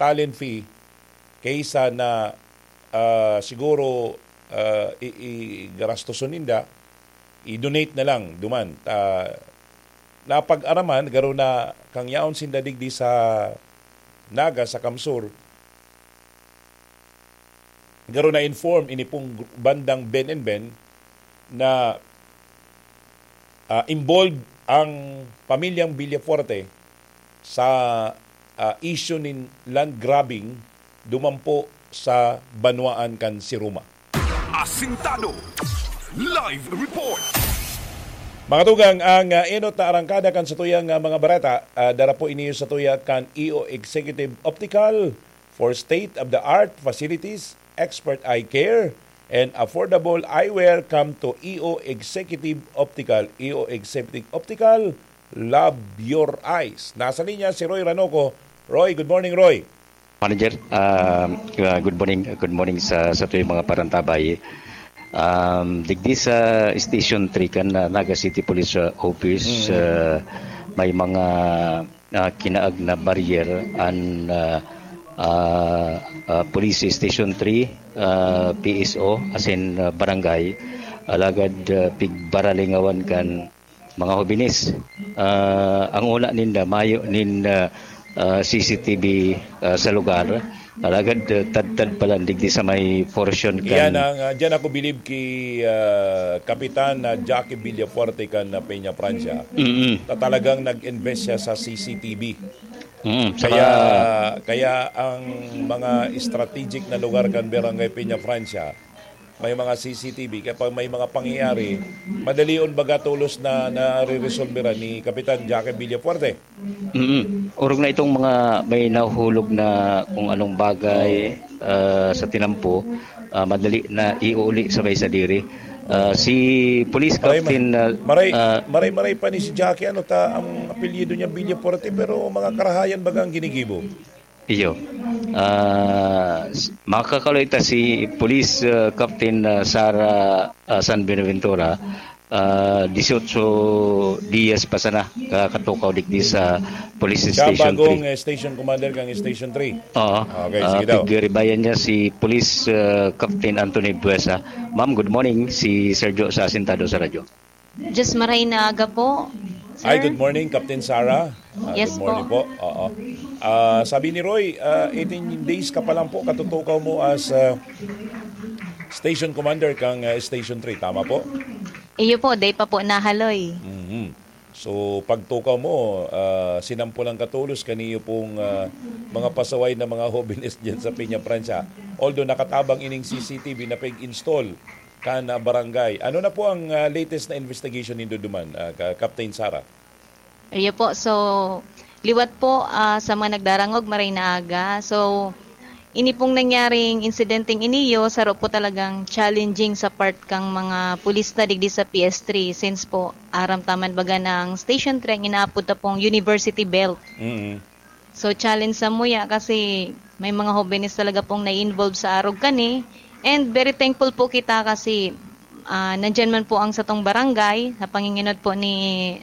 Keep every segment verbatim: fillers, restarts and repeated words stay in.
talent fee kaysa na, ah, siguro, ah, i-, i-, garastoson ninda, i-donate na lang duman. Ah, napag-araman, garo na kang yaon sinda digdi sa Naga, sa Kamsur, garo na-inform ini pong gr-, bandang Ben and Ben na, ah, involved ang pamilyang Villafuerte sa, ah, issue nin land grabbing duman po sa banwaan kan Siruma. Asintado. Live report. Mga tugang, ang, ah, enot na arangkada kan satuyang, ah, mga bareta, ah, dara po ini sa tuya kan E O Executive Optical for state-of-the-art facilities, expert eye care, and affordable eyewear. Come to E O Executive Optical. E O Executive Optical, love your eyes. Nasa linya si Roy Ranoco. Roy, good morning, Roy. Manager, ah, ah, good morning, good morning sa, sa tuyong mga parantabay. Um, digdi sa Station three kan, ah, Naga City Police, ah, Office, Mm. ah, may mga, ah, kinaag na barrier an, ah, ah, ah, Police Station three, ah, P S O, asin, ah, barangay. Alagad, ah, pigbaralingawan kan mga hobenes. Ah, ang una ninda, mayo nin, ah, ah, C C T V, ah, sa lugar. Alagad, ah, tadtad pa lang digdi sa may portion kan Iyan ang, ah, diyan ako bilib ki, ah, Kapitan na Jackie Villafuerte kan, ah, Peña Francia. Mm. Ta talagang nag-invest siya sa C C T V. Mm, saka Kaya, kaya ang mga strategic na lugar kan Barangay Peña Francia, may mga C C T V. Kaya pag may mga pangyayari, madalion baga tolos na nare-resolveran ni Kapitan Jackie Villafuerte. Mm. Orog na itong mga may nahuhulog na kung anong bagay, Oo. ah, sa tinampo, ah, madali na iuuli sabay sa diri. Ah, si Police Maray, Captain, ah, maray, ah, maray, maray pa ni si Jackie, ano ta, ang apelyido niya Villafuerte, pero mga karahayan baga ang ginigibo. Iyo. Ah, s-, makakaloy ta si Police, ah, Captain, ah, Sara, ah, San Buenaventura, ah, dieciocho dias pa sana ka-, katukaw digdi sa Police Siya Station bagong, three. eh, station commander kang Station three. Oo. Okay, Ah, sige daw. Pigribayan niya si Police, ah, Captain Anthony Buesa. Ma'am, good morning. Si Sergio sa Asintado sa Radyo. Diyos maray na aga po, Hi, sir. Good morning, Captain Sarah. Ah, Yes good morning po. po. Oo. Ah, sabi ni Roy, ah, eighteen days ka pa lang po, katutukaw mo as, ah, station commander kang, ah, Station three. Tama po? Iyo po, day pa po nahaloy. Mhm. So, pagtukaw mo, ah, sinampulang katolos kaniyo pong, ah, mga pasaway na mga hobenes dyan sa Peña Francia. Although nakatabang ining C C T V na pag-install kan, ah, barangay. Ano na po ang, ah, latest na investigation nindo duman, ah, ka-, Captain Sara? Iyo po. So, liwat po, ah, sa mga nagdarangog, maray na aga. So, ini pong nangyaring insidenteng iniyo, saro po talagang challenging sa part kang mga pulis na digdi sa P S three. Since po, aram taman baga ng Station three, ang inaapod ta pong University Belt. Mm. So, challenge sa muya kasi may mga hobenes talaga pong na-involve sa arog kani. And very thankful po kita kasi, ah, nandyan man po ang satong barangay, sa panginginot po ni,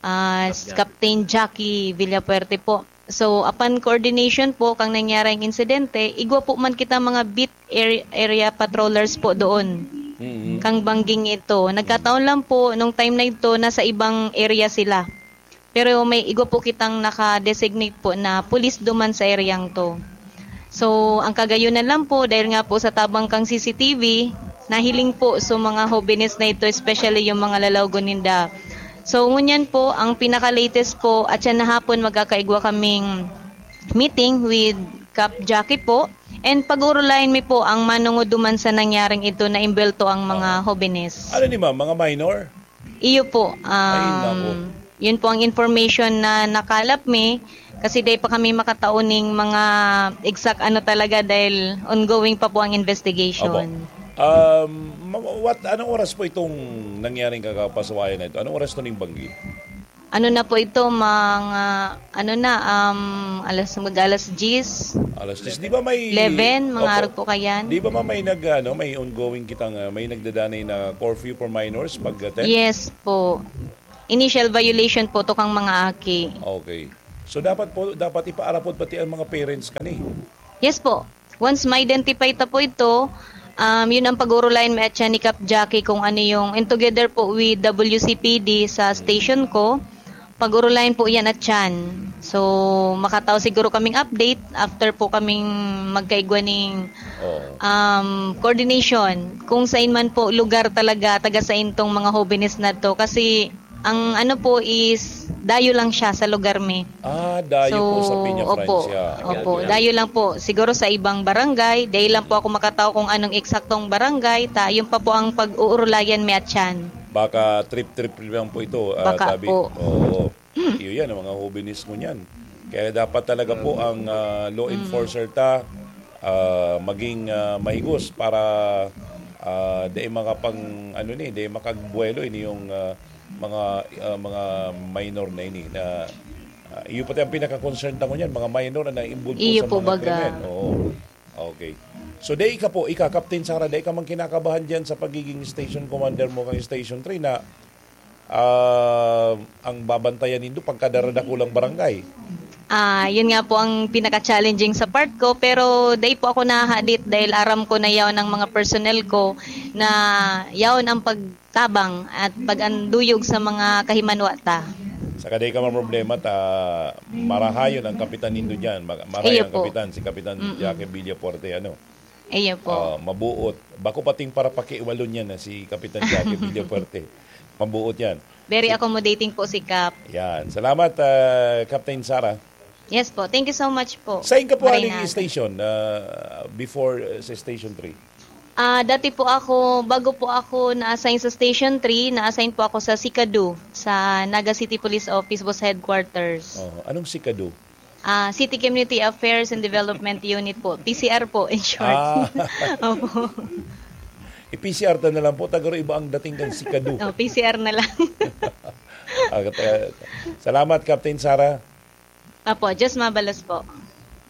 ah, Captain Jackie Villafuerte po. So, upon coordination po kang nangyaring insidente, igwa po man kita mga beat ar-, area patrollers po doon. Mm. Kang bangging ito. Nagkataon lang po, nung time na ito, nasa ibang area sila. Pero may igwa po kitang naka-designate po na pulis duman sa eryang to. So, ang kagayunan lang po, dahil nga po sa tabang kang C C T V, nahiling po sa mga hobenes na ito, especially yung mga lalawgon ninda. So, ngunyan po, ang pinaka-latest po, at siya na hapon, magkakaigwa kaming meeting with Cap Jackie po. And pag-urulayan mi po ang manungo duman sa nangyaring ito na imbelto ang mga Oo. hobenes. Ano ni ma'am? Mga minor? Iyo po. Ay, Um, naku. yun po ang information na nakalap mi kasi dai pa kami makatao ning mga exact ano talaga dahil ongoing pa po ang investigation. Opo. Um, ma-, what, anong oras po itong nangyaring kakapasawayan na ito? Anong oras to ning banggi? Ano na po ito, mga, ano na, um, alas, mag-alas diyes. Alas diyes. Di ba may Eleven, mga Opo. arog po kayan. Di ba, ma'am, may nag-, ano, may ongoing kitang, ah, may nagdadanay na curfew for minors pag, ah, ten? Yes po. Initial violation po to kang mga aki. Okay. So, dapat po, dapat ipaarapod pati ang mga parents kani. Yes po. Once ma-identify ta po ito, um, yun ang pag-uurulayan mi at siya ni Cap Jackie kung ano yung, and together po with W C P D sa station ko, pag-uurulayan po yan at siyan. So, makatao siguro kaming update after po kaming magkaigwa ning, Oo. um, coordination kung saan man po lugar talaga taga sain tong mga hobenes na to. Kasi ang ano po is dayo lang siya sa lugar mi. Ah, dayo po sa So, Peña opo. Francia. Opo, Ayan. dayo lang po. Siguro sa ibang barangay, dayo lang po ako makatao kung anong eksaktong barangay, ta yun pa po ang pag-uurulayan mi at siyan. Baka trip-trip lang po ito, ah, Baka Tabi. po. Oo. Iyo yan, ang mga hobenes mo niyan. Kaya dapat talaga po ang, ah, law Mm. enforcer ta, ah, maging, ah, mahigos para, ah, dai makapang, ano ni, dai makagbuwelo ini yung, ah, mga, ah, mga minor na ini na, ah, iyo pati ang pinaka-concern ta ngunyan, mga minor na involved po Iyo sa po mga baga. krimen. Oo. Okay. So, dai ka po, ika, Captain Sara, dai ka man kinakabahan diyan sa pagiging station commander mo kang Station three na, ah, ang babantayan nindo pagkadara-dakulang barangay? Ah, yun nga po ang pinaka-challenging sa part ko, pero dai po ako nahahadit dahil aram ko na yaon ang mga personnel ko na yaon ang pagtabang at pag-anduyog sa mga kahimanwa ta. Saka dai ka man problema ta marahayon ang kapitan nindo diyan. Ma-, marahay Iyo ang po. kapitan, si Kapitan Mm-mm. Jackie Villafuerte, ano? Iyo po. Ah, mabuot. Bako pating para pakiwalo niya na si Kapitan Jackie Villafuerte. Mabuot yan. Very Si accommodating po si Cap. Yan. Salamat, ah, Captain Sara. Yes po. Thank you so much po. Sain ka po Maray aning na. station, ah, before, ah, sa Station three? Ah, dati po ako, bago po ako na-assign sa Station three, na-assign po ako sa SICADU, sa Naga City Police Office, Boss Headquarters. Oh, anong SICADU? Ah, City Community Affairs and Development Unit po. P C R po, in short. Ah. Opo. I-P C R ta na lang po, ta garo iba ang dating kan SICADU. Oh, P C R na lang. Ah, kat-, ah, salamat, Captain Sara. Apo, Diyos mabalos po.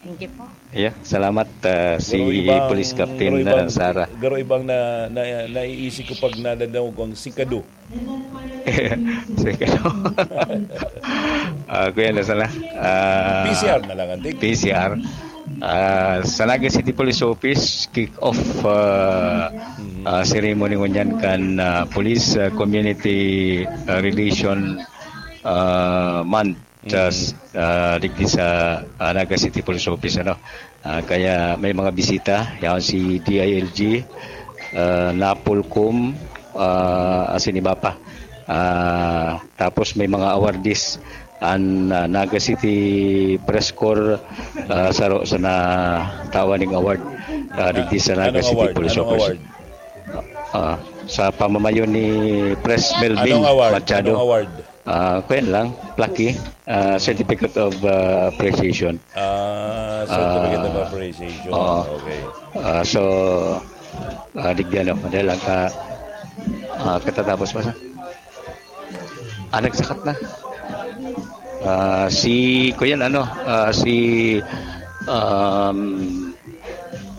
Thank you po. Yeah, salamat, ah, si Garo ibang, Police Captain, garo ah, ibang, Sara. garo ibang na, na, naiisip ko pag nadadangog ko ang SICADU. SICADU. Ah, kuya, nasa na? Ah, P C R na lang, antik. P C R. Ah, sa Naga City Police Office, kick-off, ah, Mm. ah, ceremony ngunyan kan, ah, Police, ah, Community, ah, Relation, ah, Month. Sa, Mm. ah, digdi sa, ah, Naga City Police Office, ano. Ah, kaya may mga bisita, yaon si D I L G, ah, Napolcom, ah, asin iba pa. Ah, tapos may mga awardees, an, ah, Naga City Press Corps, ah, saro sa natawan ning award, ah, digdi sa Naga Anong City award? Police Anong Office. award? Ah, sa pamamayo ni Press Melvin Anong award? Machado. Anong award? Ah, kuyan lang, plaque, ah, certificate of, ah, appreciation. Ah, certificate of Ah, appreciation. oo. Okay. Ah, so, ah, digdi ano, madali lang ka, ah, katatapos pa sa, ah, nagsakat na. Ah, si, kuyan ano, ah, si, um,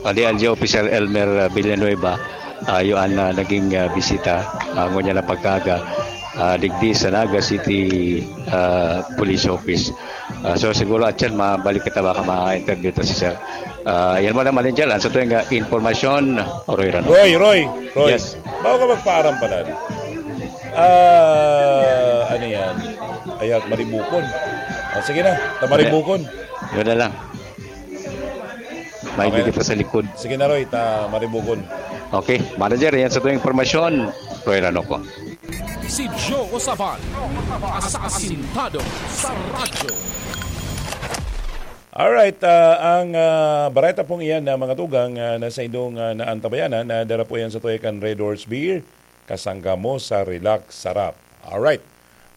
Pati L G Officer Elmer, ah, Villanueva, ah, iyo an, ah, naging, ah, bisita, ah, ngunyan na pagkaaga, ah, digdi sa Naga City, ah, Police Office. Ah, so, siguro, atyan, mabalik kita, baka ma-interview ta si sir. Ah, yan mo na, manager, ang sa tuwing, ah, informasyon, Roy Rano. Roy, Roy, Roy. Yes. Bago ka magpaaram pala. Ah, ano yan? Ayan, Maribukon. Ah, sige na, ta Maribukon. Yun na lang. May Okay. bigay pa sa likod. Sige na, Roy, ta Maribukon. Okay, manager, yan sa tuwing impormasyon. Roy Rano ko. Si Joe Osaban, asasintado sa radyo. Alright, ah, ang, ah, bareta pong iyan na mga tugang, ah, na sa indong, ah, naantabayanan, na dara po yan sa tuya kan Red Horse Beer, kasangga mo sa Relax Sarap. Alright.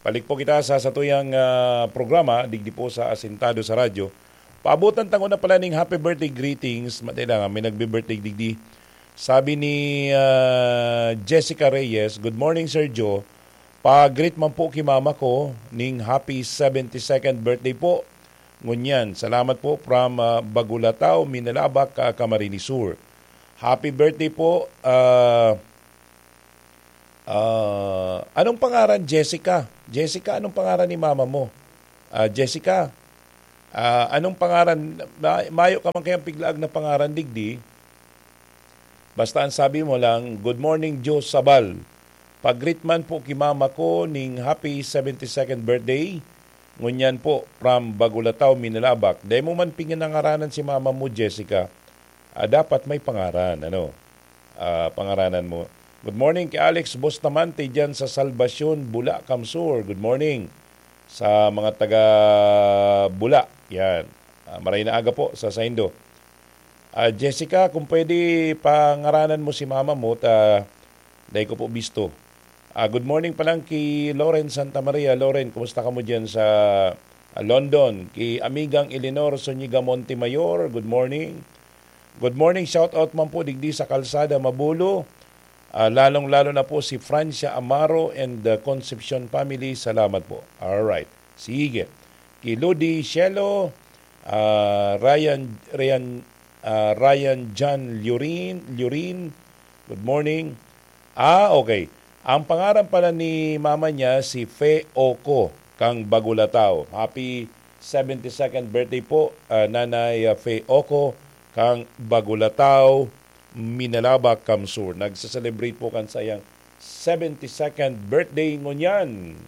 Balik po kita sa satuyang, ah, programa, digdi po sa Asintado sa Radyo. Paabutan tango na pala ning happy birthday greetings. Matay lang, ah, may nagbe-birthday digdi. Sabi ni, ah, Jessica Reyes, "Good morning, Sir Joe. Pa-greet man po ki mama ko ning happy seventy-second birthday po. Ngunyan, salamat po from, ah, Bagulatao, Minalabac, ah, Camarines Sur." Happy birthday po, ah, ah, anong pangaran, Jessica? Jessica, anong pangaran ni mama mo? Ah, Jessica, Ah, anong pangaran? Ma-, mayo ka man kayang piglaag na pangaran, digdi? Basta ang sabi mo lang, "Good morning, Joe Sabal. Pag-greet man po ki mama ko ning happy seventy-second birthday. Ngunyan po, from Bagulataw, Minalabac." Dai mo man pinangaranan si mama mo, Jessica. Ah, dapat may pangaran, ano? Ah, pangaranan mo. Good morning kay Alex Bustamante dyan sa Salvacion, Bula, Kamsur. Good morning sa mga taga Bula. Yan. Ah, maray na aga po sa saindo. Ah, Jessica, kung pwede, pangaranan mo si mama mo, ta dai ko po bisto. Ah, good morning pa lang ki Loren Santa Maria. Loren, kumusta ka mo dyan sa, ah, London? Ki Amigang Eleanor Zuniga Montemayor, good morning. Good morning, shout out man po digdi sa Kalsada, Mabulo. Ah, lalong-lalo na po si Francia Amaro and the Concepcion family. Salamat po. Alright. Sige. Ki Lodi Shelo, ah, Ryan, Ryan, ah, Ryan John Lurin, Lurin. Good morning. Ah, okay. Ang pangaran pala ni mama niya si Fe Oco, kang Bagulataw. Happy seventy-second birthday po, ah, Nanay, ah, Fe Oco, kang Bagulataw, Minalabac, Kamsur. Nagse-celebrate po kan sayang seventy-second birthday ngunyan.